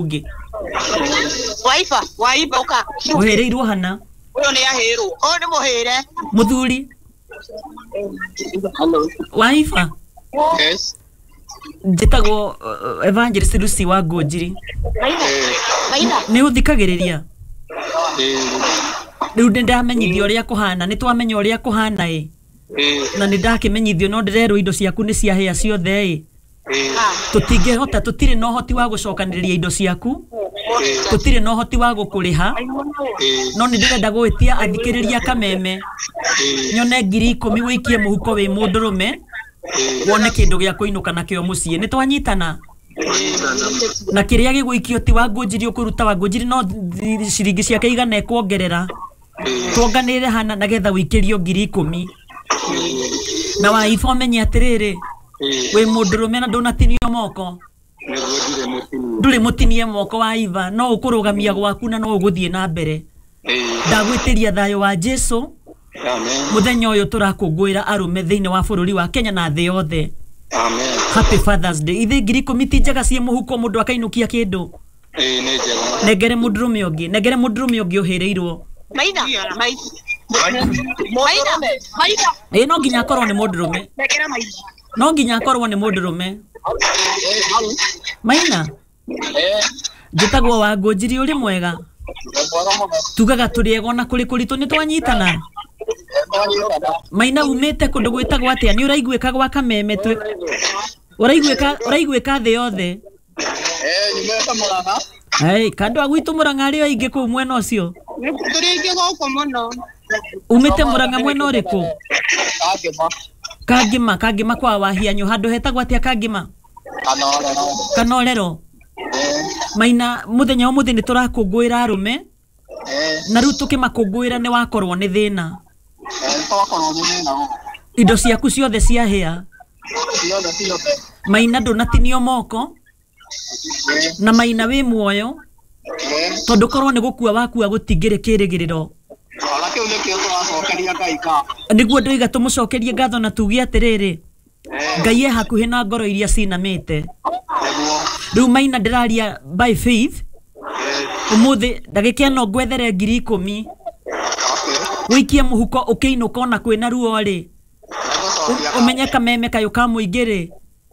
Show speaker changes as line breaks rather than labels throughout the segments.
Ũngĩ
Waiba, waiba ũka.
Ũhĩrĩirwo hana?
Ũyũ nĩ ahĩrwo. Ũyũ nĩ mũhĩre.
Mũthuri.
Hello.
Waiba.
Yes.
Njĩtagwo Evangelist Lucy wa Ngũnjiri.
Maina.
Nĩ ũthikagĩrĩria?
Eh,
Rĩu nĩ ndamenyithio ũrĩa kũhana, nĩ twamenya ũrĩa kũhana ĩ.
eh,
Na nĩ ndakĩmenyithio no ndĩrerwo indo ciaku nĩ ciahĩa ciothe ĩ.
eh,
Tũtingĩhota, tũtirĩ na ũhoti wa gũcokanĩrĩria indo ciaku, tũtirĩ na ũhoti wa gũkũrĩha,
eh,
no nĩ ndĩrenda gwĩtia athikĩrĩria kameme
eh,
nyone 10,000 wĩikie mũhuko wĩ mũndũrũme
eh.
wone kĩndũ gĩa kũinũka nakĩo mũciĩ. Nĩ twanyitana? Na kĩrĩa gĩgũikio ti wa Ngũnjiri ũkũruta wa Ngũnjiri, no ciringi ciake igana ekuongerera, tuonganĩrĩre hana nagetha wĩikĩrio 10,000. Na waiba ũmenye atĩrĩrĩ, wĩ mũndũrũme na ndũnatinio moko.
Nĩguo ndirĩ mũtinie.
Ndũrĩ mũtinie moko waiba, no ũkũrũgamia gwaku na no ũgũthiĩ na mbere.
Eh,
Ndagwĩtĩria thayũ wa Jesu.
amen.
Mũthenya ũyũ tũrakũngũĩra arũme thĩinĩ wa bũrũri wa Kenya na thĩ yothe.
Amen.
Happy Fathers Day. Ithe 10,000 ti njega ciĩ mũhuko mũndũ akainũkia kĩndũ?
Eh, nĩ njega.
Nengere mũndũrũme ũngĩ, nengere mũndũrũme ũngĩ ũhĩrĩirwo.
Maina. Maina. Maina. Maina.
Ĩ, no nginya akorwo nĩ mũndũrũme.
Nengera maina.
No nginya akorwo nĩ mũndũrũme. Maina.
Eh,
Njĩtagwo wa Ngũnjiri, ũrĩ mwega?
nĩ mwega mũno.
Tugaga tũrĩ ega ona kũrĩ kũritũ, nĩ twanyitana? Maina, umĩte kũndũ gwĩtagwo atĩa? Nĩ ũraiguĩka gwa kameme twĩ ũraiguĩka, ũraiguĩka thĩ yothe?
Eh, nyumĩte Mũrang'a.
Hey, kandũ a gwitũ Mũrang'a arĩ o aingĩ kũu mwena ũcio.
Tũrĩ aingĩ gũkũ mũno.
Umĩte Mũrang'a mwena ũrĩkũ?
Kangĩma.
Kangĩma, Kangĩma kwa Wahianyũ, handũ hetagwo atĩa Kangĩma?
Kanorero.
Kanorero.
Eh,
Maina, mũthenya wa ũmũthĩ nĩ tũrakũngũĩra arũme,
eh,
na rĩu tũkĩmakũngũĩra nĩ wakorwo nĩ thĩna.
eh, twakorwo nĩ thĩna gũkũ.
Indo ciaku ciothe ciahĩa.
Ciothe ciothe.
Maina, ndũnatinio moko,
Eh,
na Maina wĩ muoyo,
eh,
tondũ korwo nĩ gũkua wakua gũtingĩrĩ kĩrĩgĩrĩro.
ona kĩu nĩkĩo tũracokeria Ngai ngatho.
Nĩguo ndoiga tũmũcokerie ngatho na tuge atĩrĩrĩ,
Eh,
Ngai e hakuhĩ na ngoro iria cinamĩte.
nĩguo.
Rĩu Maina, ndĩraria by faith.
Eh,
Ũmũthĩ ndagĩka ĩno ngwethere 10,000
okay.
wĩikie mũhuko ũkĩinũka ona kwĩna ruo rĩ.
Nĩgũcokia
Ũmenye kameme kayũ ka mũingĩ rĩ,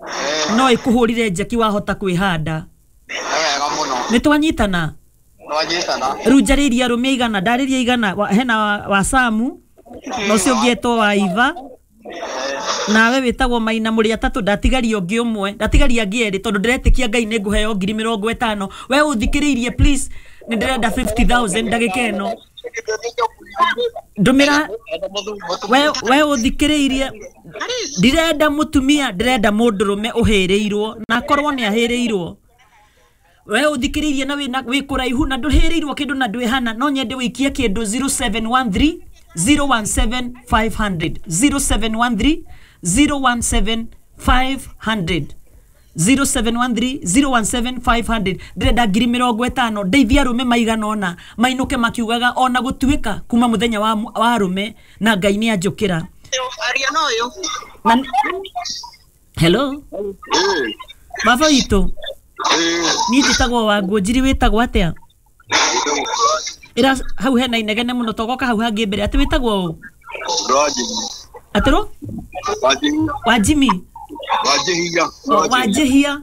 Eh,
no ĩkũhũrire njeki wahota kwĩhanda.
nĩ wega mũno.
Nĩ twanyitana?
Twanyitana.
Rĩu njarĩirie arũme igana, ndarĩria igana, hena wa Samu na ũcio ũngĩ etwo wa Iva, nawe wĩtagwo Maina, mũrĩ atatũ. Ndatigaria ũngĩ ũmwe, ndatigaria angĩ erĩ, tondũ ndĩretĩkia Ngai nĩ ngũheo 50,000. We ũthikĩrĩirie, please, nĩ ndĩrenda 50,000 ndagĩka ĩno. Ndũmĩra we ũthikĩrĩirie, ndirenda mũtumia, ndĩrenda mũndũrũme ũhĩrĩirwo na akorwo nĩ ahĩrĩirwo. We ũthikĩrĩirie na wĩna wĩ kũraihu na ndũhĩrĩirwo kĩndũ na ndwĩhana, no nyende wĩikie kĩndũ 0713 017 500, 0713 017 500, 0713 017 500. Ndĩrenda 50,000 ndeithia arũme maigana ũna mainũke makiugaga ona gũtuĩka kuma mũthenya wa arũme na Ngai nĩ anjũkĩra.
Aria na ũyũ.
Na hello.
Eh,
Baba witũ.
eh,
Niĩ njĩtagwo wa Ngũnjiri, wĩtagwo atĩa? Ĩra hau hena inegene mũno, togoka hau hangĩ mbere. Atĩ wĩtagwo ũ?
Wanjihia.
Atĩrũ?
Wanjihia.
Wa Jimmy?
Wanjihia.
Wanjihia.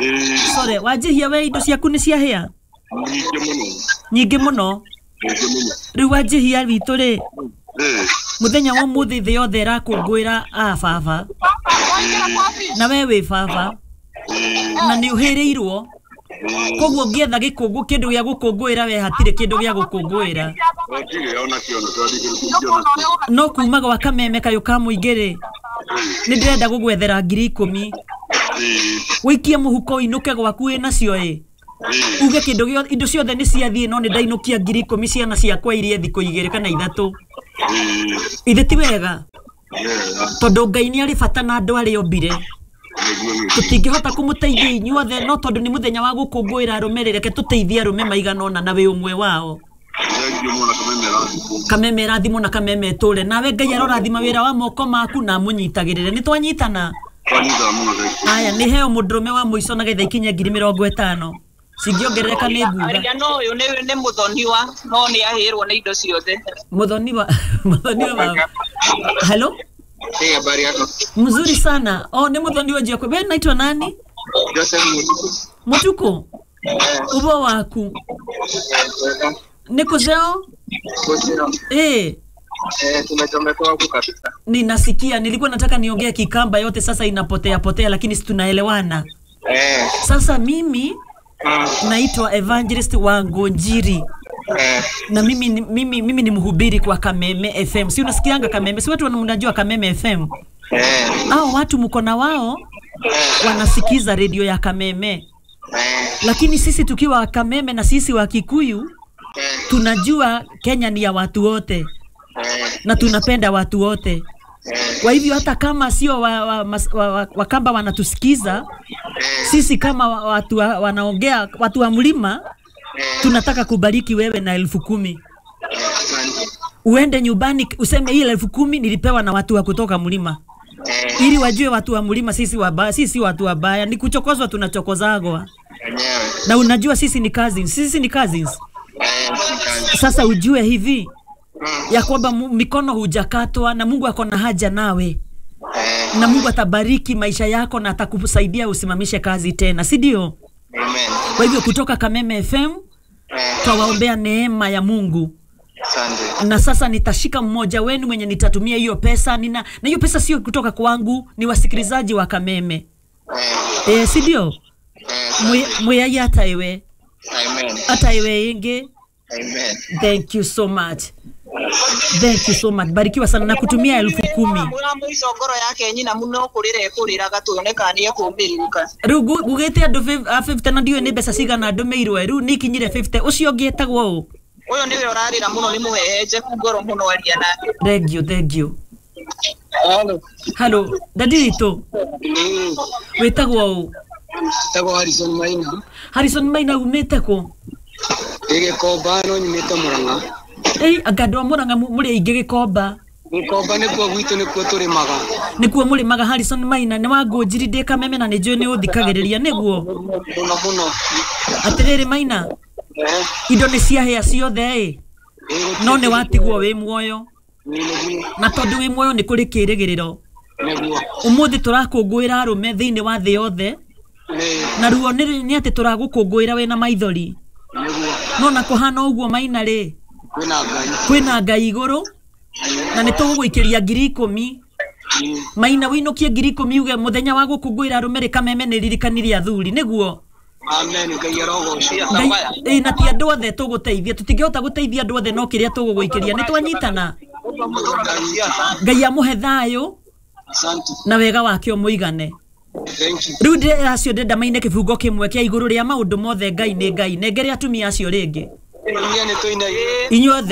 Eh,
Sorry, Wanjihia, we indo ciaku nĩ ciahĩa?
nyingĩ mũno.
Nyingĩ mũno.
Nyingĩ mũno.
Rĩu Wanjihia witũ rĩ,
Eh,
mũthenya wa ũmũthĩ thĩ yothe ĩrakũngũĩra a baba, na we wĩ baba
eh,
na nĩ ũhĩrĩirwo, koguo ũngĩetha gĩkũngũ kĩndũ gĩa gũkũngũĩra, we hatirĩ kĩndũ gĩa gũkũngũĩra.
Ndirĩ ona kĩo, tũtingĩona.
No kuma gwa kameme kayũ ka mũingĩ rĩ, nĩ ndĩrenda gũgwethera 10,000
Eh,
wĩikie mũhuko ũinũke gwaku wĩ nacio ĩ,
eh,
uge kĩndũ gĩothe, indo ciothe nĩ ciathiĩ, no nĩ ndainũkia 10,000 ciana ciakwa irie thikũ igĩrĩ kana ithatũ.
eh,
Ithe ti wega?
wega.
Tondũ Ngai nĩ arĩ bata na andũ arĩa ombire.
Nĩguo, nĩguo.
Tũtingĩhota kũmũteithia inyuothe, no tondũ nĩ mũthenya wa gũkũngũĩra arũme rĩ, reke tũteithie arũme maigana ũna na wĩ ũmwe wao.
Thank you mũno, kameme rathimwo.
Kameme rathimwo na kameme tũre nawe. Ngai arorathima wĩra wa moko maku na amũnyitagĩrĩre. Nĩ twanyitana?
Twanyitana mũno, thank you.
Aya, nĩ heo mũndũrũme wa mũico na getha ikinye 50,000. Cingĩongerereka nĩ nguga.
Aria no ũyũ nĩ mũthoniwa no nĩ ahĩrwo nĩ indo ciothe.
Muthoniwa, muthoniwa baba. Hello?
Hey, habari yako?
Mzuri sana. Oh, ni muthoniwa Jioko. Wewe naitwa nani?
Joseph Mutuku.
Mutuku. Ubo waku. Nĩ kũceo?
Kosio.
Eh,
Tumechomekwa huku kabisa.
ninasikia nilikuwa nataka niongee Kikamba yote sasa inapotea potea, lakini si tunaelewana. Sasa mimi naitwa Evangelist Wangonjiri. Na mimi ni mhubiri kwa Kameme FM. Si unasikianga Kameme? Si watu wanajua Kameme FM? Hao watu mko na wao wanasikiza redio ya Kameme. Lakini sisi tukiwa Kameme na sisi wa Kikuyu tunajua Kenya ni ya watu wote na tunapenda watu wote. Kwa hivyo hata kama sio Wakamba wanatusikiza, sisi kama watu wanaongea watu wa mlima tunataka kubariki wewe na 10,000. Uende nyumbani useme hii 10,000 nilipewa na watu wa kutoka mlima. Ili wajue watu wa mlima sisi wabaya, sisi watu wabaya, ni kuchokozwa tunachokozagwa. Na unajua sisi ni cousins, sisi ni cousins. Sasa ujue hivi ya kwamba mikono hujakatwa na Mungu ako na haja nawe. Na Mungu atabariki maisha yako na atakusaidia usimamishe kazi tena, si ndio?
Amen.
Kwa hivyo kutoka Kameme FM twawaombea neema ya Mungu.
Asante.
Na sasa nitashika mmoja wenu mwenye nitatumia hiyo pesa. Na hiyo pesa sio kutoka kwangu, ni wasikilizaji wa Kameme. Si ndio? Muyai hata iwe.
Amen.
Hata iwe inge.
Amen.
Thank you so much. Thank you so much. Barikiwa sana na kutumia 10,000.
Mũico ngoro yake nyina muno kũrĩra ĩkũrĩraga tuone kana nĩ ekũmbĩrĩrũka.
Rĩu ngugĩte andũ 50 na ndiũĩ nĩ mbeca cigana ndũmĩirwo rĩu nĩ ikinyire 50. Ũcio ũngĩ etagwo ũ?
Ũyũ nĩwe ũrarĩra mũno nĩ mũhehenjeku ngoro mũno aria nake.
Thank you, thank you.
Hello.
Hello, dadi witũ. Wĩtagwo ũ?
Tagwo Harrison Maina.
Harrison Maina umĩte kũ?
Ndĩ Gĩkomba no nyumĩte Murang'a.
Anga andũ a Murang'a mũrĩ aingĩ Gĩkomba.
Gĩkomba nĩkuo gwitũ nĩkuo tũrĩmaga.
Nĩkuo mũrĩmaga. Harrison Maina nĩ Wangũnjiri ndĩ Kameme na nĩnjũĩ nĩ ũthikagĩrĩria nĩguo.
Mũno mũno.
Atĩrĩrĩ Maina, indo nĩ ciahĩa ciothe ĩ, no nĩ watigwo wĩ muoyo. Na tondũ wĩ muoyo nĩ kũrĩ kĩrĩgĩrĩro. Ũmũthĩ tũrakũngũĩra arũme thĩinĩ wa thĩ yothe. Na ruo nĩ atĩ tũragũkũngũĩra wĩna maithori. No na kũhana ũguo Maina rĩ, kwĩna Ngai igũrũ na nĩ tũgũgũikĩria 10,000. Maina wĩinũkie 10,000 uge mũthenya wa gũkũngũĩra arũme rĩ Kameme nĩ ririkanirie athuri nĩguo.
Amen. Ngai arogocwo.
Na ti andũ othe tũgũteithia, tũtingĩhota gũteithia andũ othe no kĩrĩa tũgũgũikĩria nĩ twanyitana. Ngai amũhe thayũ na wega wake ũmũigane. Rĩu ndĩ acio ndĩrenda maine kĩbungo kĩmwe kĩa igũrũ rĩa maũndũ mothe Ngai nĩ Ngai. Nengere atumia acio rĩngĩ. Inyuothe.